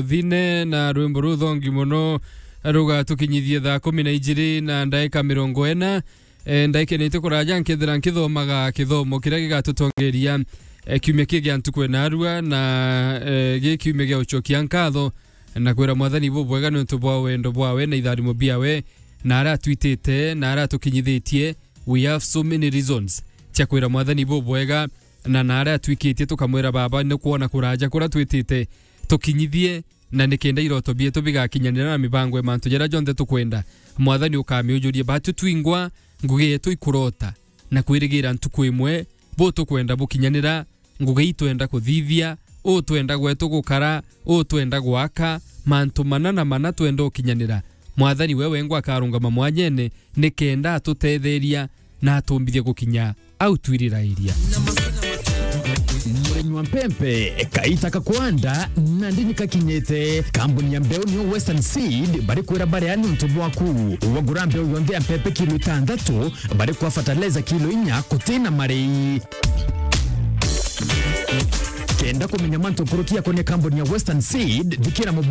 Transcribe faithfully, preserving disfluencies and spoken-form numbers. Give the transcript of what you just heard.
Muthine na rwimbo ruthongi muno rugatukinyithie thaa kumi na ijiri na ndaika mirongo ina. E, ndaikene itu kuraja nkethira nkithomaga kithomo kiria gigatutongeria, e, kiumia kii gia ntuku enarua na, e, gi kiumia gia ucokia nkatho na kwira Mwathani bubwega niuntu bwa wendo bwawe na itharimo biawe na aria atwitite na aria atukinyithitie. We have so many reasons cia kwira Mwathani bubwega na na aria atwikitie tukamwira Baba ni kwona kuraja kuria twitite tukinyithie na nikenda iroto bietu bigakinyanira na mibango ya mantu jaria jonthe tukwenda. Mwathani ukamiujurie batu twingwa ngugi yetu ikurota na kwirigira ntuku imwe bu tukwenda bukinyanira, ngugi itwenda kuthithia, u twenda gwetu gukara, u twenda gwaka, mantu mana na mana twenda ukinyanira. Mwathani we wengwa akarungama mwanyene nikenda atutetheria na atumbithie gukinya au twirira iria. Murimi wa mpempe, kaita ka kwanda, nandi nikakinyite. Kambuni ya mbeu niyo Western Seed, bari kwira baria niuntu bwaku. Wagura mbeu yonthe ya mpempe kilo itantatu, bari kwa fertilizer kilo inya, kutina marei. Kenda kumenya mantu nkuruki yakonia kambuni ya Western Seed, thikira mubao